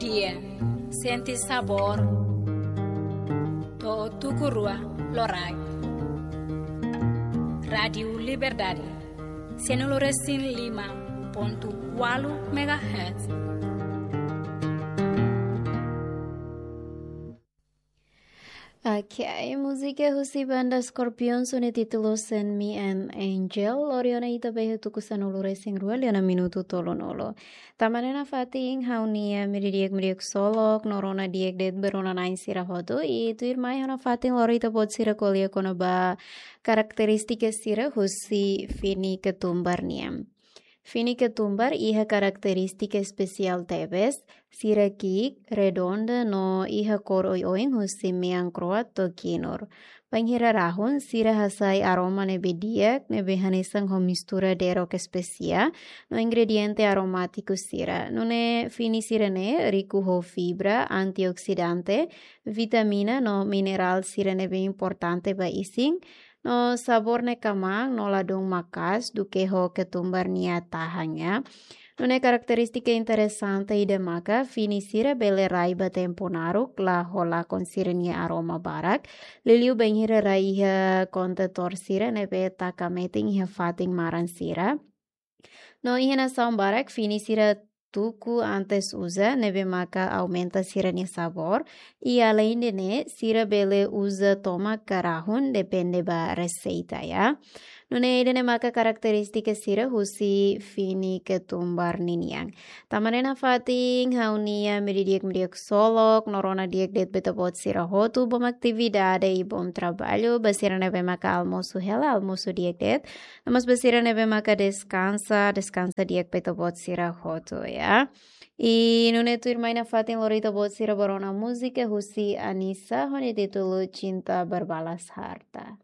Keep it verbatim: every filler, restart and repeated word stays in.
Iha, sente sabór. To'o tuku rua loraik. Rádiu Liberdade, sianulu resin lima pontu ualu megahertz. Ok, múzika husi banda Scorpions ho nia títulu Send Me an Angel, lori ona ita ba iha tuku sanulu resin rua liu ona minutu tolunulu. Tanba ne'e nafatin ha'u-nia media di'ak, media ksolok no rona di'ak de'it ba rona-na'in sira hotu, i tuirmai ha'u nafatin lori ita-boot sira ko'alia kona-ba karakterístika sira husi fini ketumbar nian. Fini ketumbar iha karakterístika espesiál tebes, sira ki'ik, redonda no iha kór oioin husi mean kro'at to'o kinur. Bainhira rahun, sira hasai aroma ne'ebé di'ak, ne'ebé hanesan ho mistura derok espesiál no ingrediente aromátiku sira. Nune'e fini sira-ne'e riku ho fibra, antioksidante, vitamina no minerál sira ne'ebé importante ba isin, no sabór ne'e kmaan no ladún maka'as duké ho ketumbar nia tahan, ya. Nune'e karakterístika interesante ida maka fini sira bele rai ba tempu naruk, la ho lakon sira-nia aroma barak, liuliu bainhira rai iha kontentór sira ne'ebé taka metin iha fatin maran sira. No iha nasaun barak fini sira tuku antes uza, ne'ebé maka aumenta sira-nia sabór, i aleinde ne'e, sira bele uza tomak ka rahun, depende ba reseita, ya. Nune'e ida-ne'e maka karakterístika sira husi fini ketumbar ninian. Tanba ne'e nafatin ha'u-nia media di'ak, media ksolok no rona di'ak de'it ba ita-boot sira hotu, bom atividade i bom traballu. Ba sira ne'ebé maka almosu hela, almosu di'ak de'it. No mós ba sira ne'ebé maka deskansa, deskansa di'ak ba ita-boot sira hotu, ya. I nune'e tuirmai nafatin lori ita-boot sira ba rona múzika husi Anisa ho nia títulu Cinta Berbalas Harta.